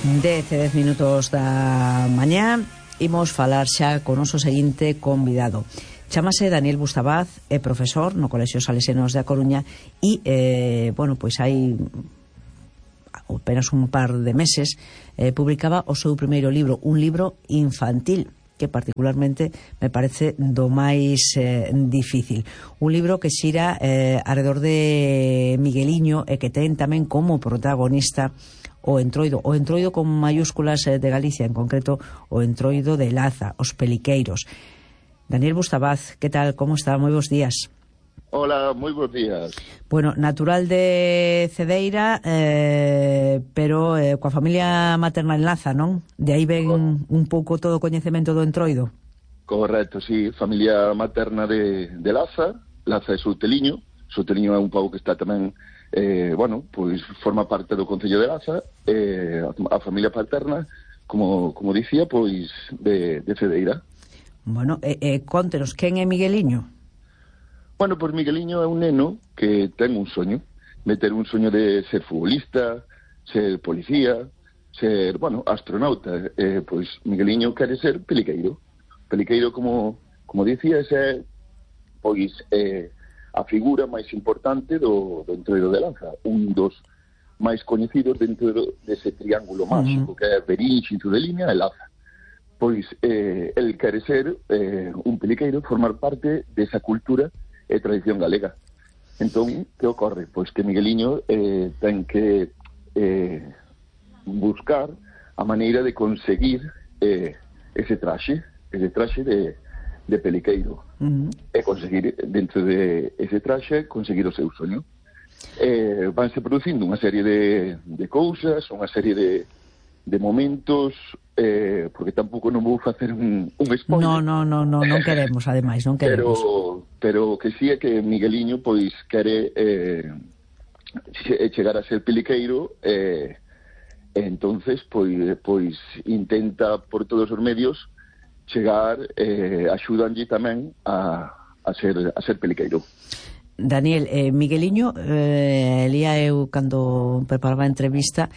10 minutos da mañá. Imos falar xa con o noso seguinte convidado. Chámase Daniel Bustabaz, é profesor no Colexio Salesianos da Coruña e, pois hai apenas un par de meses publicaba o seu primeiro libro, un libro infantil que particularmente me parece do máis difícil. Un libro que xira alrededor de Migueliño e que ten tamén como protagonista o Entroido con mayúsculas de Galicia, en concreto o Entroido de Laza, os Peliqueiros. Daniel Bustabaz, que tal, como está? Moi bons días. Hola, moi bons días. Bueno, natural de Cedeira, pero coa familia materna en Laza, non? De aí ven un pouco todo o coñecemento do Entroido. Correcto, sí, familia materna de Laza. Laza é Souteliño. Souteliño é un pobo que está tamén, pois forma parte do Concello de Laza. A familia paterna, como dicía, pois de Cedeira. Bueno, contenos, quen é Migueliño? Bueno, pois Migueliño é un neno que ten un soño, meter un soño de ser futbolista, ser policía, ser, astronauta. Pois Migueliño quere ser peliqueiro. Peliqueiro, como dicía, é pois a figura máis importante do Entroido de Laza, un dos máis coñecidos dentro dese triángulo máxico que é Verín, Xinzo-de-Limia e Laza. Pois el quere ser un peliqueiro, formar parte desa cultura e tradición galega. Entón, que ocorre? Pois que Migueliño ten que buscar a maneira de conseguir ese traxe de peliqueiro e conseguir, dentro de ese traxe, conseguir o seu soño. Vanse producindo unha serie de cousas, unha serie de momentos, porque tampouco non vou facer un spoiler. Non queremos, ademais, non queremos. Pero que sí é que Migueliño pois quere chegar a ser peliqueiro, entonces pois intenta por todos os medios chegar, axudanlle tamén a ser peliqueiro. Daniel, Migueliño, lía eu cando preparaba a entrevista,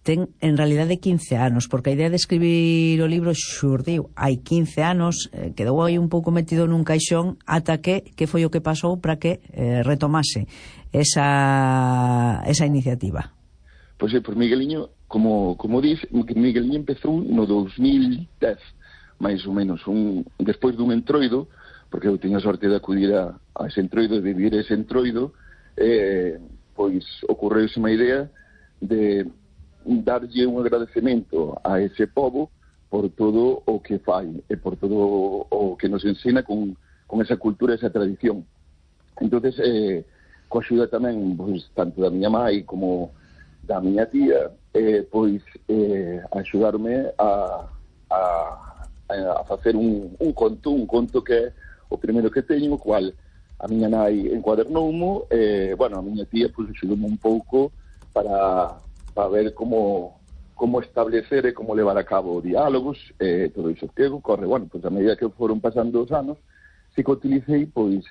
ten en realidade 15 anos, porque a idea de escribir o libro xurdiu hai 15 anos, quedou aí un pouco metido nun caixón ata que foi o que pasou para que retomase esa iniciativa. Pois por Migueliño, como dis, Migueliño empezou no 2010, máis ou menos, despois dun entroido, porque eu teño a sorte de acudir a ese entroido, de vivir ese entroido, pois ocorreuse unha idea de darlle un agradecemento a ese pobo por todo o que fai e por todo o que nos ensina con esa cultura, esa tradición. Entonces, coa axuda tamén, pois, tanto da miña mai como da miña tía, pois axudarme a facer un conto que é o primeiro que teño, o cual a miña nai encuadernoumo, a miña tía pois axudoume un pouco para ver como establecer e como levar a cabo diálogos, todo iso que ocorre. Pois a medida que foron pasando os anos, si que utilicei pois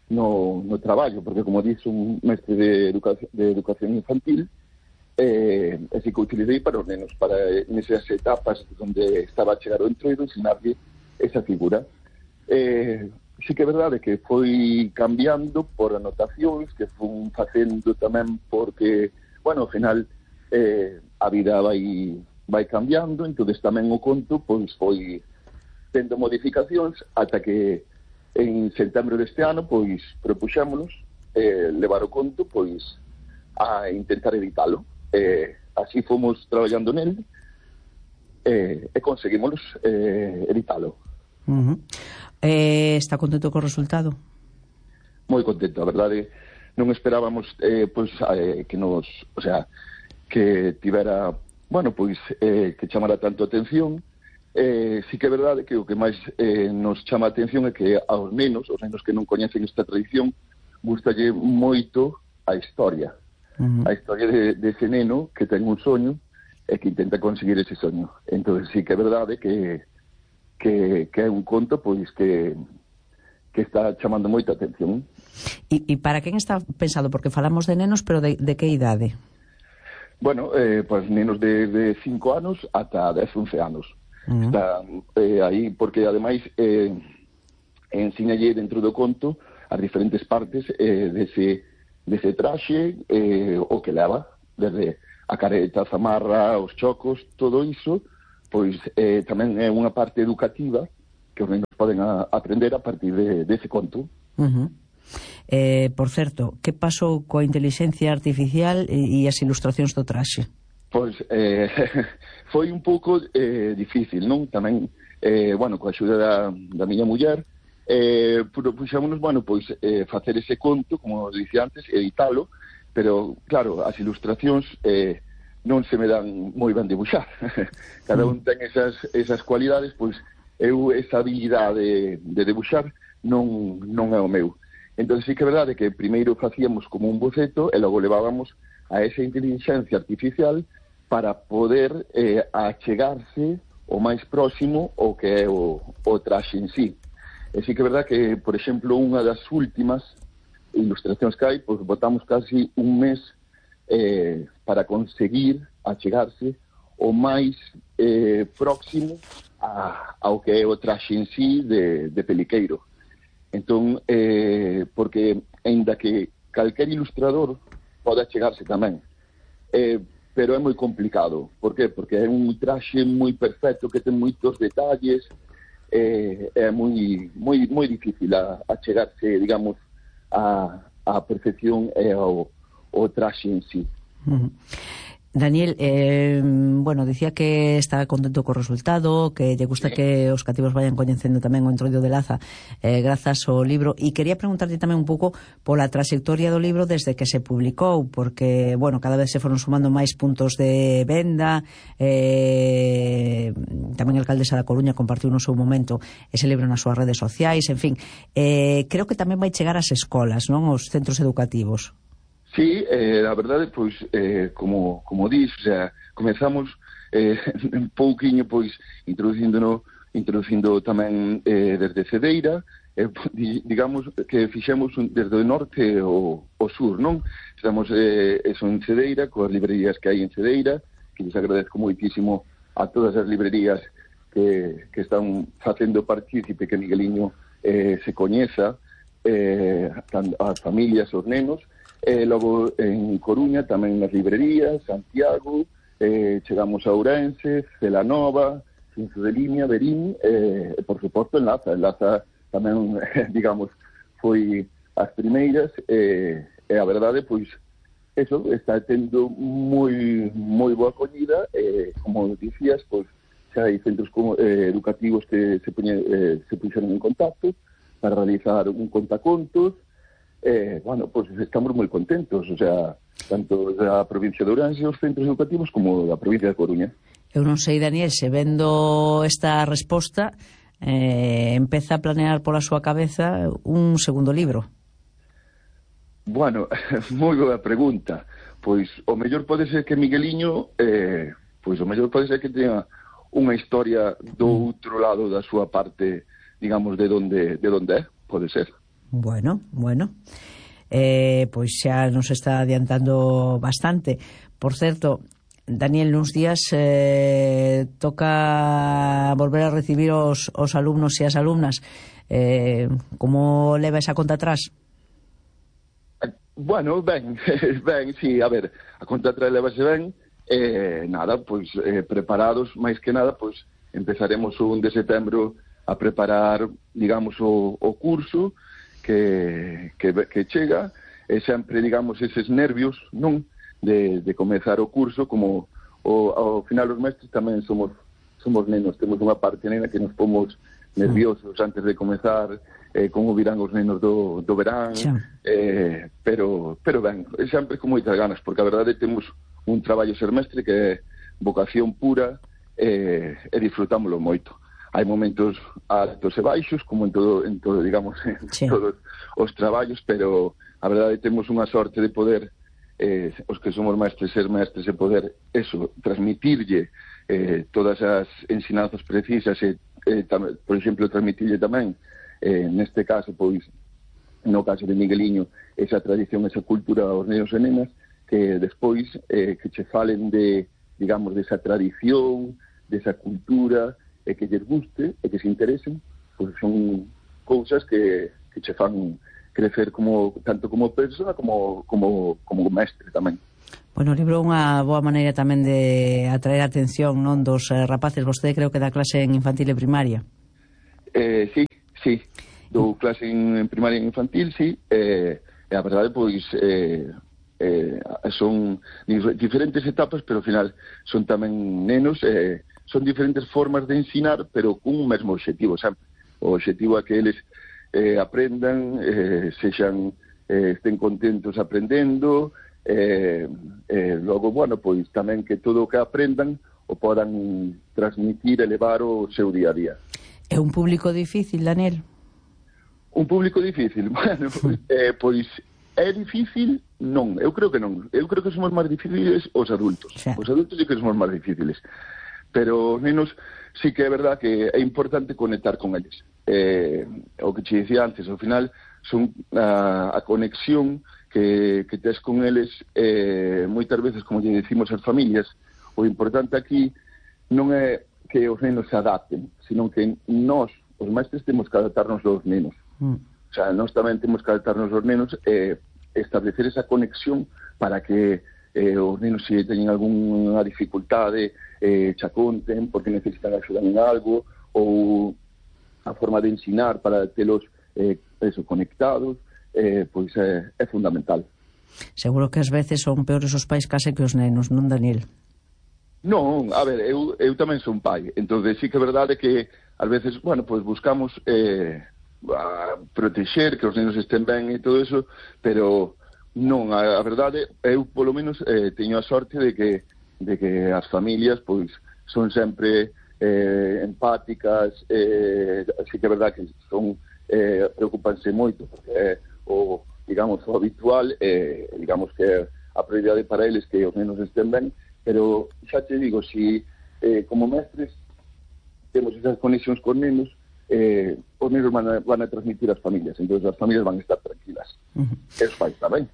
no traballo, porque como dixo un mestre de educación infantil, si que utilicei para os nenos, para nesas etapas onde estaba a chegar o entroido, ensinarlle esa figura. Si que é verdade que foi cambiando por anotacións que fun facendo tamén porque, ao final a vida vai cambiando, entonces tamén o conto pois foi tendo modificacións ata que en setembro deste ano pois propuxémonos levar o conto pois a intentar editalo. Así fomos traballando nel e conseguimos editalo. Está contento co resultado? Moi contento, a verdade. Non esperábamos que tivera, que chamara tanto atención. Sí que é verdade que o que máis nos chama a atención é que aos nenos que non coñecen esta tradición, gustalle moito a historia. A historia de ese neno que ten un soño e que intenta conseguir ese soño. Entón, sí que é verdade que é un conto pois que está chamando moita atención. E para quen está pensado? Porque falamos de nenos, pero de que idade? Bueno, pues nenos de 5 anos ata 10, 11 anos. Están aí, porque ademais ensinalle dentro do conto as diferentes partes dese traxe, o que leva, desde a careta, a zamarra, os chocos, todo iso, pois tamén é unha parte educativa que os nenos poden aprender a partir dese conto. Por certo, que pasou coa inteligencia artificial e as ilustracións do traxe? Pois foi un pouco difícil, non? Tamén, bueno, coa axuda da miña muller, puxámonos, bueno, pois facer ese conto, como dicía antes, editalo, pero, claro, as ilustracións non se me dan moi ben debuxar. Cada un ten esas cualidades, pois eu esa habilidade de debuxar non é o meu. Entón, sí que é verdade que primeiro facíamos como un boceto e logo levábamos a esa inteligencia artificial para poder achegarse o máis próximo o que é o traxe en sí. E sí que é verdade que, por exemplo, unha das últimas ilustracións que hai, pois botamos casi un mes para conseguir achegarse o máis próximo ao que é o traxe en sí de Peliqueiro. Entón, porque aínda que calquer ilustrador pode achegarse tamén, pero é moi complicado. Por qué? Porque é un traxe moi perfecto que ten moitos detalles, é moi difícil achegarse, digamos, a perfección e ao traxe en sí. Daniel, bueno, dicía que está contento co resultado, que lle gusta que os cativos vayan coñecendo tamén o Entroido de Laza grazas ao libro, e quería preguntarte tamén un pouco pola trayectoria do libro desde que se publicou, porque, bueno, cada vez se foron sumando máis puntos de venda, tamén a alcaldesa da Coruña compartiu no seu momento ese libro nas súas redes sociais, en fin, creo que tamén vai chegar ás escolas, non, aos centros educativos. Sí, a verdade, pois, como dis, o sea, comezamos un pouquiño, pois, introducindo tamén desde Cedeira, digamos que fixemos desde o norte ao sur, non? Estamos eso en Cedeira, coas librerías que hai en Cedeira, que les agradezco moitísimo a todas as librerías que están facendo partícipe que Migueliño se coñeza, as familias, os nenos. Logo en Coruña tamén nas librerías, Santiago, chegamos a Ourense, Celanova, Cinzo de Limia, Verín, e por suposto en Laza tamén, digamos, foi as primeiras, e a verdade, pois, eso, está tendo moi boa acollida, como dicías, pois, xa hai centros educativos que se puxeron en contacto para realizar un contacontos. Bueno, pues estamos moi contentos, o sea, tanto da provincia de Ourense, os centros educativos, como da provincia de Coruña. Eu non sei, Daniel, se vendo esta resposta, empeza a planear pola súa cabeza un segundo libro. Bueno, moi boa pregunta. Pois o mellor pode ser que Migueliño, pois o mellor pode ser que teña unha historia do outro lado da súa parte, digamos, de onde é, pode ser. Bueno, pois xa nos está adiantando bastante. Por certo, Daniel, nuns días toca volver a recibir os alumnos e as alumnas. Como leva esa conta atrás? Bueno, ben, sí, a ver, a conta atrás levase ben, nada, pois preparados, máis que nada, pois empezaremos o 1 de setembro a preparar, digamos, o curso que chega, e sempre, digamos, eses nervios, non, de comezar o curso, como ao final os mestres tamén somos nenos, temos unha parte nena que nos pomos nerviosos antes de comezar, como virán os nenos do verán, pero ben, sempre con moitas ganas, porque a verdade temos un traballo ser mestre que é vocación pura, e disfrutámoslo moito. Hai momentos altos e baixos, como en todo digamos, en todos os traballos, pero a verdade temos unha sorte de poder, os que somos mestres, ser mestres, e poder, eso, transmitirlle todas as ensinanzas precisas, e, por exemplo, transmitirlle tamén, neste caso, pois, no caso de Migueliño, esa tradición, esa cultura aos nenos e nenas, que despois que che falen de, digamos, desa tradición, desa cultura, e que lles guste, e que se interesen, pois son cousas que che fan crecer tanto como persoa como mestre tamén. Bueno, o libro é unha boa maneira tamén de atraer a atención, non, dos rapaces. Vostede creo que dá clase en infantil e primaria. Sí, dou clase en primaria e infantil, sí, e a verdade, pois, son diferentes etapas, pero ao final son tamén nenos, son diferentes formas de ensinar, pero cun mesmo obxectivo, sempre. O obxectivo é que eles aprendan, estén contentos aprendendo, logo, bueno, pois tamén que todo o que aprendan o podan transmitir e levar o seu día a día. É un público difícil, Daniel? Un público difícil? Bueno, pois é difícil? Non, eu creo que non. Eu creo que somos máis difíciles os adultos. Sí. Os adultos sí que somos máis difíciles. Pero os nenos sí que é verdad que é importante conectar con eles. O que te dicía antes, ao final son a conexión que tes con eles, moitas veces, como lle decimos as familias, o importante aquí non é que os nenos se adapten, sino que nós, os mestres, temos que adaptarnos aos nenos. O sea, nós tamén temos que adaptarnos aos nenos e establecer esa conexión para que os nenos, se teñen algunha dificultade, xa conten porque necesitan axuda en algo, ou a forma de ensinar para telos conectados, pois é fundamental. Seguro que ás veces son peores os pais case que os nenos, non, Daniel? Non, a ver, eu tamén son pai, entón sí que é verdade que ás veces, bueno, pois buscamos protexer que os nenos estén ben e todo eso, pero non, a verdade, eu polo menos teño a sorte de que as familias pois son sempre empáticas, así que é verdade que son preocupanse moito, porque digamos, o habitual, digamos que a prioridade para eles que os nenos estén ben, pero xa te digo, si como mestres temos esas conexións con nenos, os nenos van a transmitir as familias, entón as familias van a estar tranquilas. Eso fai tamén.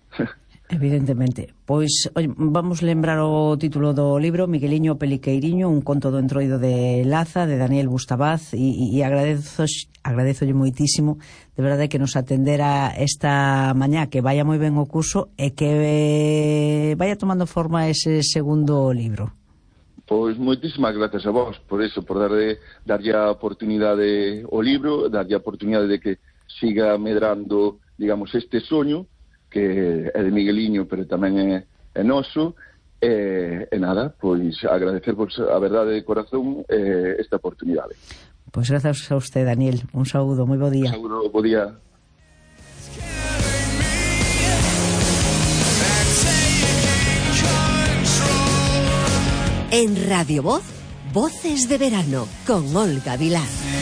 Evidentemente. Pois, oi, vamos lembrar o título do libro, Migueliño Peliqueiriño, un conto do entroido de Laza, de Daniel Bustabaz, e agradezolle moitísimo, de verdade, que nos atendera esta mañá, que vaya moi ben o curso e que vaya tomando forma ese segundo libro. Pois moitísimas gracias a vos por eso, por darlle a oportunidade ao libro, darlle a oportunidade de que siga medrando, digamos, este soño que é de Migueliño, pero tamén é noso, e nada, pois agradecervos a verdade de corazón esta oportunidade. Pois gracias a usted, Daniel. Un saúdo, moi bo día. Un saúdo, bo día. En Radio Voz, Voces de Verano, con Olga Vilar.